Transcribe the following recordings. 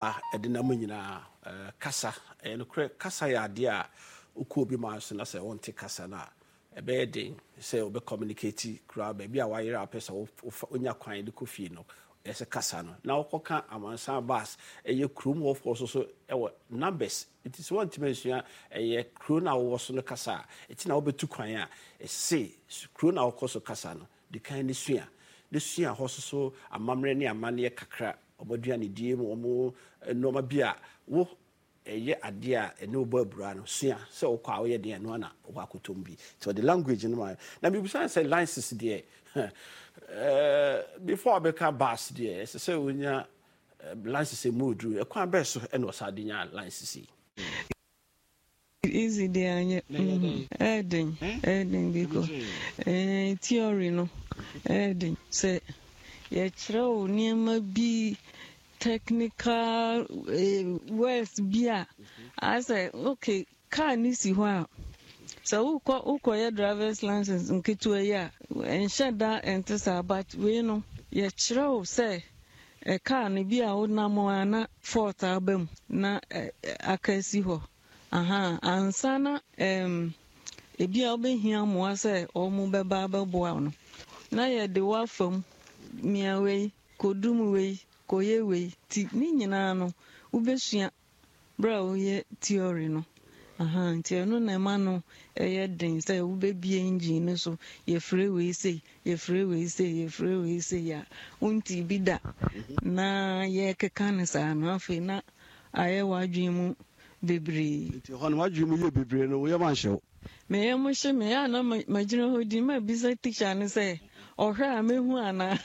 Ɛde nam nyinaa kasa. Ɛyɛ nokorɛ, kasa yɛ adeɛ a wokɔ obi man so na sɛ wonte kasa no a, ɛbɛyɛ den sɛ wobɛ communicate koraa. Baabi a wayera a wopɛ sɛ wonya kwan de kɔ fie no, ɛyɛ sɛ kasa no. Na wokɔka amansan bus, ɛyɛ kurom hɔfoɔ so so ɛwɔ numbers. Nti sɛ woantumi ansua ɛyɛ kuro no a wowɔ so no kasa a, ɛti na wobɛtu kwan a, ɛse kuro no a wokɔ so kasa no, di kan ne sua. Ne sua hɔ so so amammerɛ ne amanneɛ kakra, wɔn aduanedie mu, wɔn nneɛma bi a wo ɛyɛ adeɛ a ɛne wo bɔ abura no, sua sɛ wokɔ a woyɛ deɛ ɛno ana wokɔ akɔtɔm bi. Nti ɔde language no ma. Na mebisa sɛ license deɛ, before wobɛka bus deɛ, ɛsɛ sɛ wonya license mu oduru. Ɛkwan bɛɛ so ɛna ɔsa de nya license yi? Easy deɛ anyɛ. Ɛɛden, ɛɛden because theory no ɛɛden sɛ yɛkyerɛ wo nneɛma bi, technical words bi a asɛ okay, car ne si hɔ a, sɛ wokɔ wokɔyɛ drivers license nketewa yi a, ɛnhyɛ da ɛnte saa, but wei no yɛkyerɛ wo sɛ car no bi a wonam a na fault aba mu na aka asi hɔ aha ansa na ebi a wobɛhia mmoa sɛ wɔn bɛba abɛboa wo no, na yɛde wo afa mu, mia wei, kɔdum wei, kɔyɛ wei. Nti ne nyinaa no wobɛsua berɛ a woyɛ theory no aha. Nti ɛno na ɛma no ɛyɛ den sɛ wobɛbie engine no so, yɛfrɛ wei sei, yɛfrɛ wei sei, yɛfrɛ wei sei a wonti bi da na yɛkeka no saa no, afei na ayɛ w'adwene mu bebree. Nti hɔ no w'adwene mu yɛ bebree no, woyɛ ma nhyɛ wo? Meyɛ mo hye me a na magyina hɔ din mabisa teacher no sɛ ɔhwɛ a mɛhu anaa,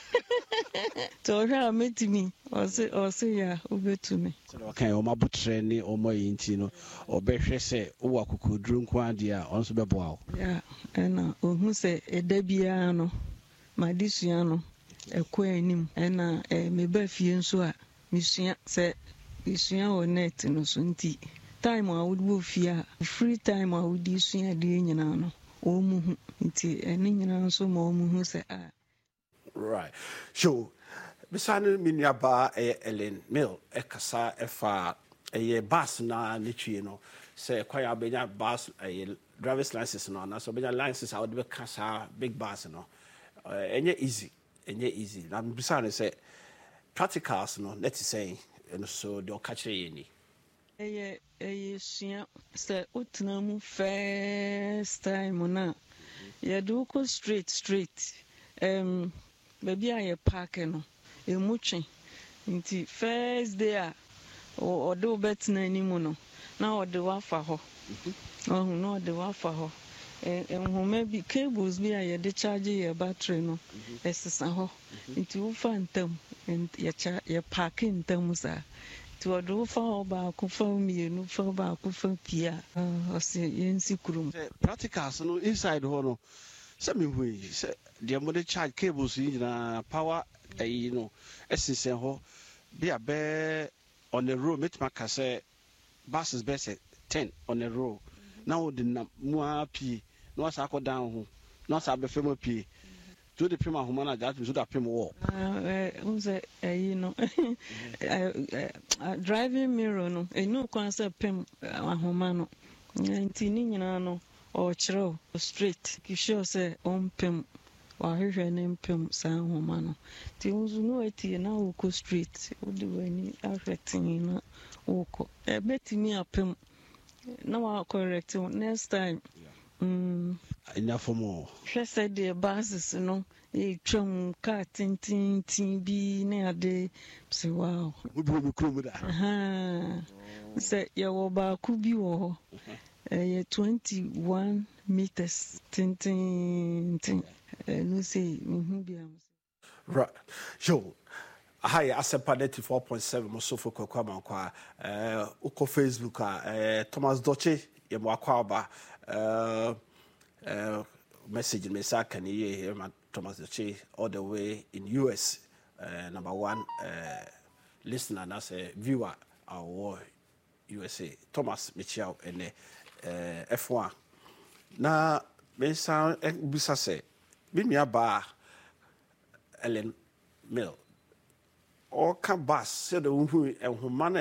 nti ɔhwɛ a mɛtumi, ɔse yɛ a wobɛtumi. Sɛdeɛ ɔka yɛ wɔn abotrɛ ne wɔn ayi nti no, ɔbɛhwɛ sɛ wowɔ akokoduro nko adeɛ a, ɔno nso bɛboa wo. Ya, ɛna ɔhu sɛ ɛda biara no m'adesua no ɛkɔ anim, ɛna meba fie nso a mesua, sɛ mesua wɔ net no so, nti time a wowɔ fie a, free time a wode sua adeɛ nyinaa no, wɔn mu hu, nti ɛne nyinaa nso ma wɔn hu sɛ a. Right. So, bisa no me nuabaa ɛyɛ Ellen Mill ɛkasa ɛfa ɛyɛ bus na ne twie no sɛ kwan a wobɛnya bus ɛyɛ driver's license no anaasɛ wobɛnya license a wode bɛka saa big bus no, ɛnyɛ easy, ɛnyɛ easy. Na bisa no sɛ practicals no na te sɛn? Ɛno so deɛ ɔka kyerɛ yɛn ni. Ɛyɛ sua sɛ wotena mu first time no a, yɛde wo kɔ straight straight, baabi a yɛ park no emu twe. Nti first day a ɔde wo bɛtena anim no, na ɔde wo afa hɔ, ɔhu na ɔde wo afa hɔ, nhoma bi, cables bi a yɛde charge yɛ battery no ɛsesa hɔ, nti wofa ntam, yɛkyɛ yɛ park ntam saa, nti ɔde wo fa hɔ baako, fa mmienu, fa baako, fa pie a, ɔsi yɛnsi kurom. Sɛ practicals no inside hɔ no, sɛ mehu yi sɛ deɛ mode charge cables yi nyinaa, power ɛyi no ɛsensɛn hɔ bi a bɛɛ on a row, mɛtumi aka sɛ buses bɛyɛ sɛ 10 on a row, na wode nam mu ara pie na wasa akɔ dan ho na wasa abɛfɛ mu apue, nti wode pem ahoma no a, gyaa tumi so wode apem wɔ. N sɛ ɛyi no, driving mirror no ɛnu kwan sɛ pem ahoma no, nti ne nyinaa no ɔrekyerɛw straight, sure sɛ ɔmpem wahwehwɛ ne mpem saa ahoma no, nti wo nso ne watie na wokɔ straight, wode w'ani ahwɛ tee na wokɔ, ɛbɛtumi apem na wa correct wo next time. Ɛnya fam o. Hwɛ sɛdeɛ buses no ɛtwam, kaa tententen bi ne ade sɛ wow. Wobi wɔ me kurom da. Sɛ yɛwɔ baako bi wɔ hɔ, ɛyɛ 21 meters tententen, ɛno sɛ mehu bi a. Right. Yo, aha yɛ Asɛmpa 94.7 mo sofo Kwaku Amankwa. Wokɔ Facebook a, Thomas Dɔkye yɛ mo akɔ aba. Message me nsa aka ne yie ma Thomas Dɔkye all the way in US. Number one listener anaasɛ viewer a ɔwɔ USA. Thomas, mekyia wo ɛnɛ. Ɛfo a na me nsa bisa sɛ me nua baa Ellen Mill ɔka bus sɛdeɛ wohu nhoma no.